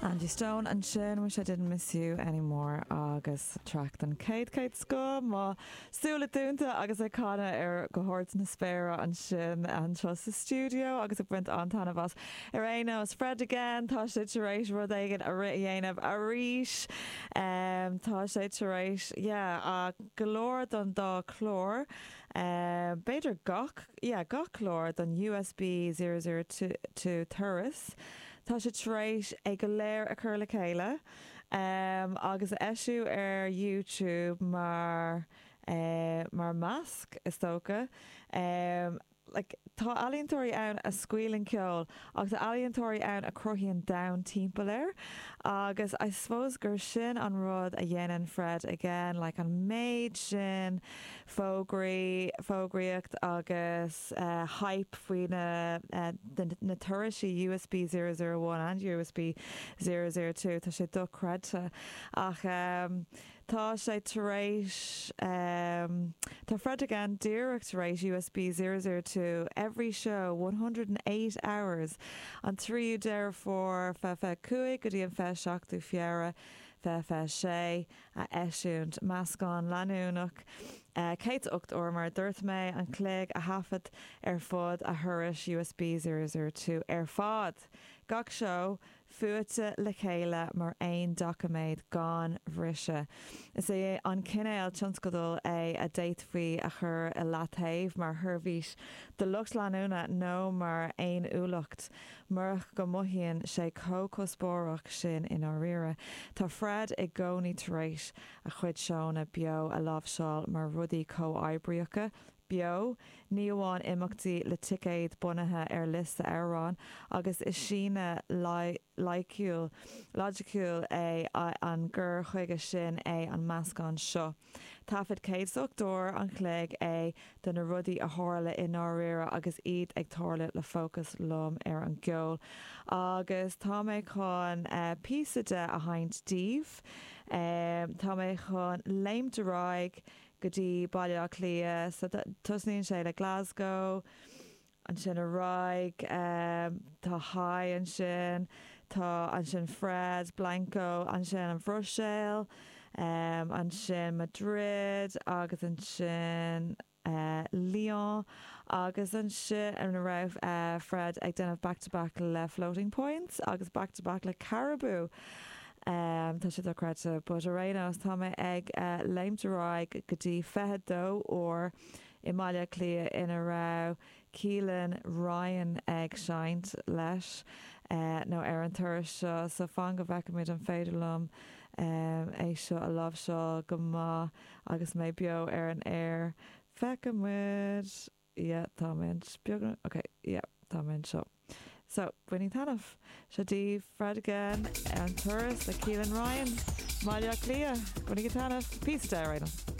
Angie Stone ansin, Wish I Didn't Miss You Anymore agus traic den chéad chéad scoth, mo súile dúnta agus ag canadh ar go hard na spéire ansin anseo sa stiúideo agus ag baint an-taitneamh as. Ar aon nós, Fred again, tá sé tar éis rud éigin a rith a dhéanamh arís. Tá sé tar éis, yeah, go leor don dá chlár, b'fhéidir gach, yeah, gach clár don USB 002 turas. Tá sé tar éis é go léir a chur le chéile agus a eisiú ar YouTube mar mar masc, is dócha. Like, tá ealaíontóirí ann a scaoileann ceol agus tá ealaíontóirí ann a chruthaíonn domhan timpeall air agus I suppose gur sin an rud a dhéanann Fred again, like an méid sin fógraí, fógraíocht agus hype faoi na na turais USB 001 and USB 002, tá sé dochreidte. Ach tá sé tar éis, tá Fred again díreach tar éis USB 002 every show 108 hours an 3ú Deireadh Fómhair 2025 go dtí an 27ú Feabhra 2026. a eisiúint. Meascán leanúnach 108 uair, mar a dúirt mé, an chloig a thaifead ar fud a thurais USB 002 ar fad. Gach seó fuaite le chéile mar aon doiciméad gan bhriseadh. Is é an cineál tionscadail é a d'fhéadfaí a chur i leataobh mar sheirbhís do lucht leanúna nó mar fhéiniúlacht. Murach go mothaíonn sé chomh cuspóireach sin i ndáiríre, tá Fred i gcónaí tar éis a chuid seónna beo a láimhseáil mar rudaí comhoibríocha, beo, ní amháin imeachtaí le ticéid bunaithe ar liosta amhrán, agus is síneadh loighciúil, loighciúil é an gcur chuige sin é an meascán seo. Taifead 108 uair an chloig é de na rudaí a tharla i ndáiríre agus iad ag tarlú le fócas lom ar an gceol. Agus tá mé chun píosa de a sheinnt daoibh. Tá mé chun léimt ar aghaidh go dtí Baile Átha Cliath. So tosnaíonn sé le Glasgow. Ansin ar aghaidh, tá Haigh ansin, tá ansin Fred, Blanco, ansin an Bhruiséil, ansin Madrid agus ansin Lyon agus ansin ina raibh Fred ag déanamh back to back le Floating Points agus back to back le Caribou. Tá sé dochreidte but ar aon nós tá mé ag léimt ar aghaidh go dtí 22 uair i mBaile Átha Cliath ina raibh Keelan Ryan ag seinnt leis nó ar an turas seo so fan go bhfeicfimid an féidir liom é seo a láimhseáil go maith agus mé beo ar an aer. Feicfimid! Yeah, tá mé beagnach, ok, yeah, tá mé anseo. So, bainigí taitneamh. Seo daoibh Fred again ar an turas le Keelan Ryan, Baile Átha Cliath. Bainigí taitneamh. Píosa de ar aon nós.